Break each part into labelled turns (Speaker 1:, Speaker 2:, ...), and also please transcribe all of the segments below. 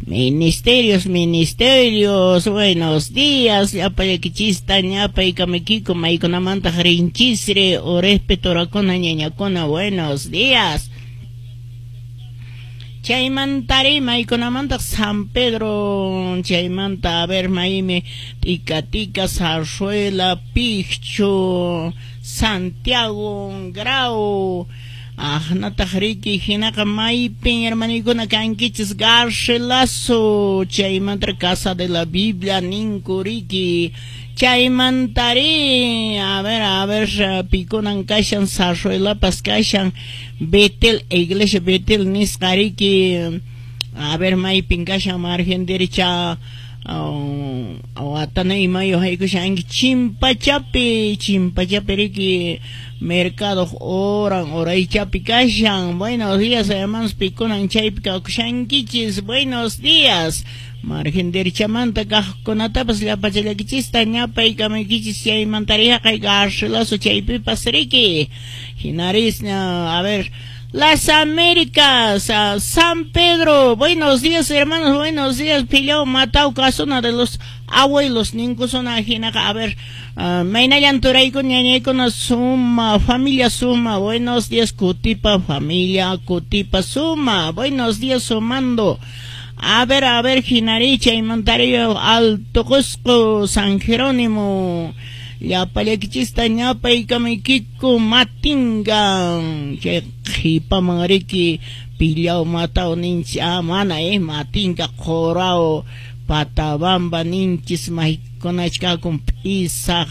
Speaker 1: Ministerios, ministerios, buenos días, llapallakichista ñapaykamikiko maykunamantaq rinchisri orespe torakuna ñañakuna, buenos días. Chaymantari maykunamantaq San Pedro, chaymanta a ver maymi Tika Tika, Zarzuela, Picchu, Santiago, Grau, Ahnataq riki hinaqa maypin hermanikuna kankichis Garcilaso, chaymanta Casa de la Biblia ninku riki, chaymantari a ver pikunan kashan Zarzuelapas kashan Betel, Iglesia Betel nisqa riki, a ver maypin kashan margen derecha watanay mayo haykushanki Chimpachapi, Chimpachapi riki mercado oran oraychapi kashan. Buenos días hermanos pikunan chaypi kawkushankichis, buenos días. Margen derechamanta kaqkunatapas llapachallakichista ñapaykamaykichis chaymantari haqay Garcilaso chaypipas riki. Hinaris a ver Las Américas, San Pedro, buenos días hermanos, buenos días, Pillao, Matau, Casona de los abuelos, ninkusona hinaqa, a ver, maynallan turaykuna ñañaykuna suma, familia suma, buenos días, Cutipa, familia, Cutipa, suma, buenos días, sumando. A ver, hinari, chaymantari, Alto Cusco, San Jerónimo, llapallakichista ñapaykamaykiku matinga, chay qhipaman riki Pillao Matao ninchis, mana matinga Qorao Patabamba ninchis maykunachkakun p'isaq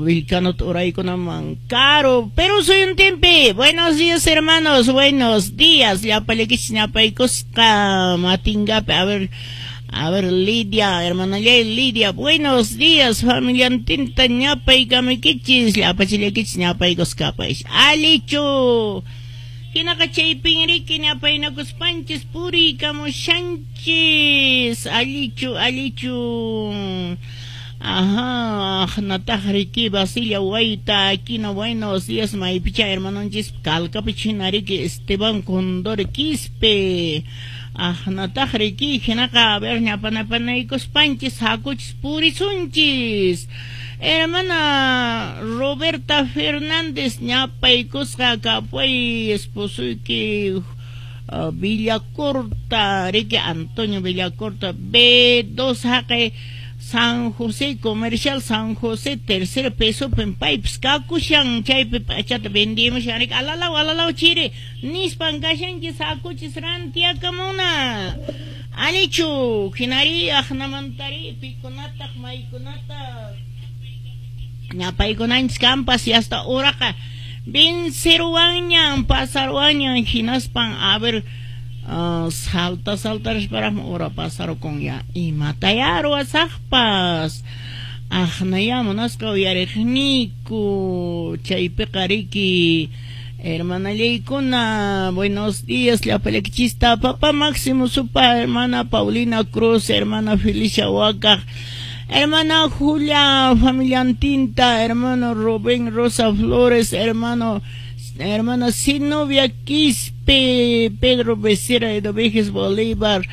Speaker 1: Vilcanot uraykunaman caro, Perú suyuntinpi. Buenos días hermanos, buenos días, llapallakichis ñapaykusqa matingapi, a ver Lidia, hermana Lidia, buenos días, familiantinta ñapaykamaykichis, llapachillakichis ñapaykusqapais, alichu. Hinaqa chaypin riki ñapaynakuspanchis puriykamushanchis, allichu, allichu. Ajá, nataq riki Basilia Wayta, Aquino, buenos días, maypicha hermanonchis, Calcapi china riki Esteban Condor Quispe. Nataq riki hinaqa a ver ñapanapanaykuspanchis hakuchis purisunchis. Hermana Roberta Fernández ñapaykusqa kapuay esposoyki Villacorta, riki Antonio Villacorta, B2 haqay San José, Comercial San José, tercer peso pipes kakushan chaypi p'achata vendimushan riki alalaw alalaw chiri nispan kashanchis hakuchis rantiakamuna. Alichu hinari aqnamantari pikunataq maykunataq ñapaykunanchis kampas y hasta uraqa venceruwanñan pasaruwanñan hinaspan a ver salta saltarisparaqmi ura pasarukun ya imataya ruwasaqpas aqnaya munasqa uyariqniku chaypiqa riki hermanallaykuna, buenos días llapallakichista papá Máximo Supa, hermana Paulina Cruz, hermana Felicia Huaca, hermana Julia familiantinta, hermano Rubén Rosa Flores, hermana Sinovia Quispe, Pedro Becerra de Dovejes Bolívar,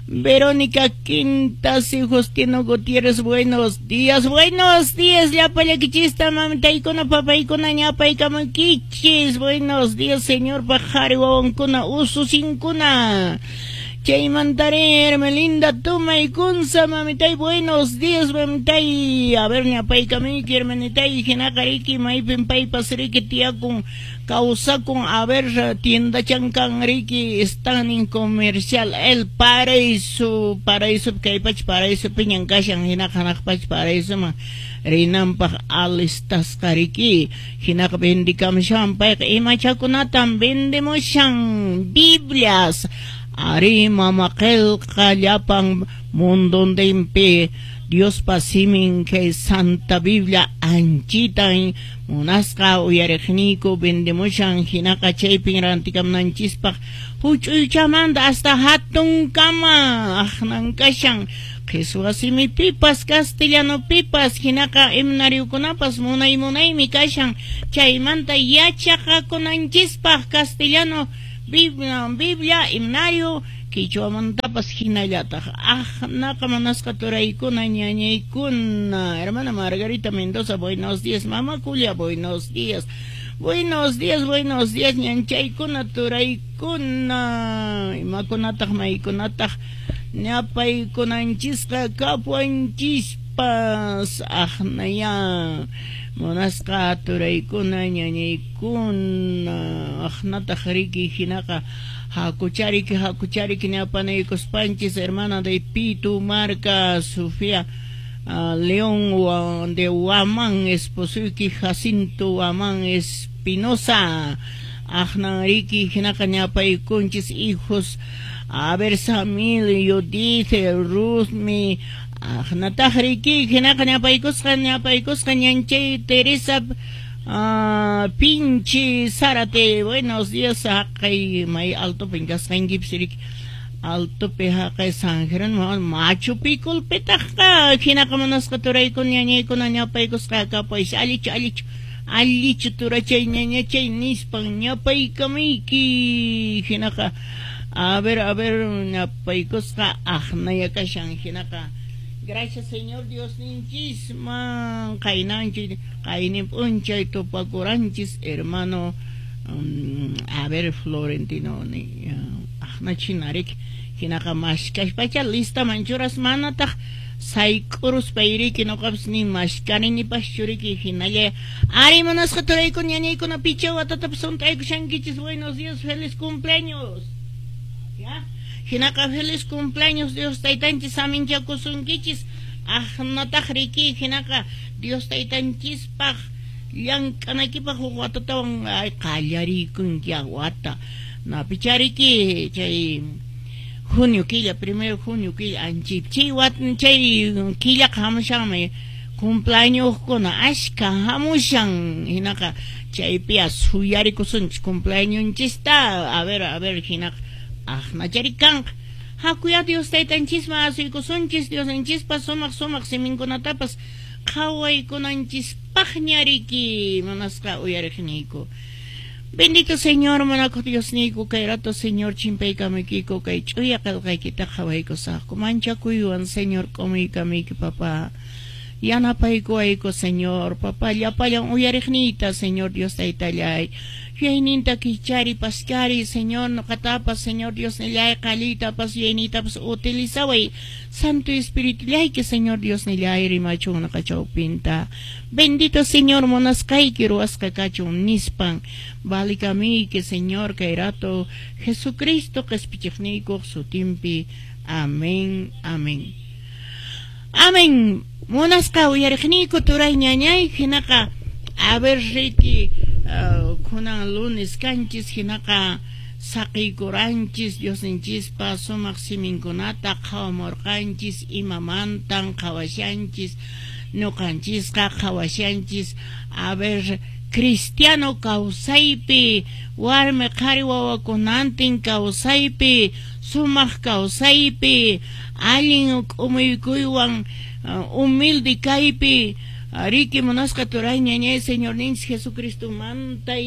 Speaker 1: Verónica Quintas y Justino Gutiérrez, buenos días, llapallakichista, mamitaykuna, papaykuna, ñapaykamaykichis, buenos días, señor Pajari, wawankuna, ususinkuna. Chaymantari, Hermelinda Tuma y Kunza, mamitay, buenos días, mamitay. A ver, ñapaykamiki, hermanitay, hinaqa riki, maypin paypas riki, tiyakun, kawsakun, a ver, tienda chankan riki, están en comercial, el paraíso, paraíso, kaypach paraíso, piñan kashan, hinaqa hanaqpach paraíso, ma, rinanpaq alistasqa riki, hinaqa vendikamushan, payqa imachakunatan vendemushan, Biblias, ari mama qillqa llapan munduntinpi Diospa simin kay Santa Biblia anchitan munasqa uyariqniyku vendemushan hinaqa chaypin rantikamunanchispaq huch'uychamanta hasta hatunkama aqnan kashan qhichwa simipipas castellanopipas hinaqa himnariukunapas munay munaymi kashan chaymanta yachaqakunanchispaq castellano Biblia, himnario Quichwamantapas hinallataq aqnaqa munasqa turaykuna ñañaykuna. Hermana Margarita Mendoza, buenos días. Mama Julia, buenos días. Buenos días, buenos días, ñanchaykuna, turaykuna. Imakunataq, maykunataq ñapaykunanchisqa kapuanchispas. Aqnaya munasqa turaykuna, ñañaykuna. Aqnataq riki hinaqa hakuchariki, hakuchariki ñapanaykuspanchis. Hermana de Pitu Marca, Sofía León de Huamán, esposoyki Jacinto Huamán Espinosa. Aqnan riki hinaqa ñapaykunchis hijos. A ver, Samil, Judith, Ruthmi. Aqnataq riki hinaqa ñapaykusqa, ñapaykusqa ñanchay Teresa Pinchi Zárate, buenos días. Haqay may altopin kasqankipis riki. Altopi haqay San Jerónimo Machu Picchupitaqqa hinaqa munasqa turaykuna ñañaykuna ñapaykusqa kapaysi allichu, allichu, allichu turachay ñañachay nispan ñapaykamayki. Hinaqa a ver ñapaykusqa aqnaya kashan hinaqa. Gracias, Señor Dios ninchisman qaynanchis qaynin p'unchay tupakuranchis hermano a ver Florentino aqnachina riki hinaqa mashkashpacha listaman churas manataq sayk'uruspay riki nuqapas ni mashkaninipas riki hinalla. Ari munasqa turaykuna ñañaykuna picha watatapas hunt'aykushankichis. Buenos días, feliz cumpleaños. Ya hinaqa feliz cumpleaños, Dios taytanchis saminchakusunkichis. Aqnataq riki hinaqa Dios taytanchispaq llank'anaykipaq huk watatawan qallariykunki wata napichariki chay junio killa, primero junio killa anchip chay wat chay killaqa hamushanmi cumpleañoskuna ashka hamushan hinaqa chaypiya suyarikusunchis cumpleañonchista. A ver hinaqa aqnachari kanqa. Hakuya Dios taytanchisman asuykusunchis Diosninchispa sumaq sumaq siminkunatapas qhawaykunanchispaqña riki munasqa uyariqniyku. Bendito Señor, munakuq Diosniyku, kay rato Señor chimpaykamuykiku kay ch'uya qillqaykita qhawaykusaqku. Manchakuywan Señor k'umuykamuyki papá. Yanapaykuwayku Señor, papá, llapallan uyariqniyta Señor Dios taytallay. Yuyayninta kichari paskari Señor, nuqatapas Señor Dios nillay qalliytapas yuyayniytapas utilizaway. Santo Espíritu llayki Señor Dios nillay rimachun nuqa chawpinta. Bendito Señor munasqayki ruwasqa kachun nispan valikamiyki Señor kay rato Jesucristo qhispichiqniykuq sutinpi. Amén, amén. Amén. Munasqa uyariqniyku turay ñañay hinaqa a ver riki kunan lunes kanchis hinaqa saqiykuranchis Diosninchispa sumaq siminkunata qhawamurqanchis imamantan qhawashanchis ñuqanchisqa qhawashanchis a ver cristiano kawsaypi warmi qhari wawakunantin kawsaypi sumaq kawsaypi allin k'umuykuywan humilde kaypi riki munasqa turay ñañay Señorninchis Jesucristomanta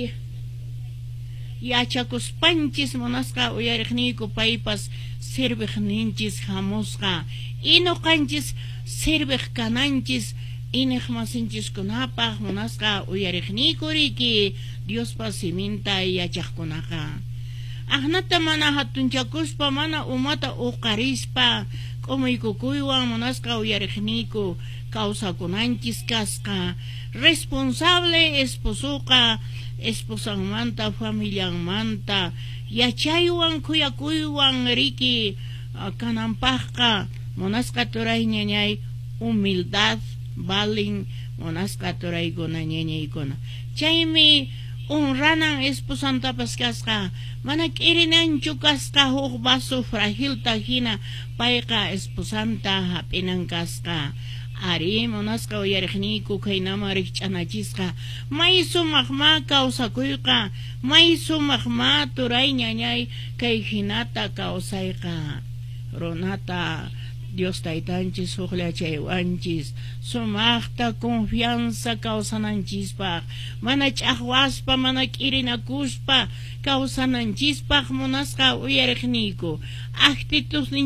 Speaker 1: yachakuspanchis munasqa uyariqniyku paypas serviqninchis hamusqa y nuqanchis serviq kananchis iñiqmasinchiskunapaq munasqa uyariqniyku riki Diospa siminta yachaqkunaqa. Aqnata mana hatunchakuspa mana umata uqarispa k'umuykukuywan munasqa uyariqniyku kawsakunanchis kasqa. Responsable esposoqa esposanmanta familianmanta yachaywan khuyakuywan riki kananpaqqa munasqa turay ñañay humildad balin munasqa turaykuna ñañaykuna. Chaymi honranan esposantapas kasqa mana k'irinanchu kasqa huk vaso fragilta hina payqa esposanta hap'inan kasqa. Ari munasqa uyariqniyku kaynaman rikch'anachisqa may sumaq ma kawsakuyqa may sumaq ma turay ñañay kay hinata kawsayqa runata Dios taytanchis hukllachaywanchis sumaqta confianza kawsananchispaq, mana ch'aqwaspa, mana k'irinakuspa kawsananchispaq. Munasqa uyariqniyku, actitudnin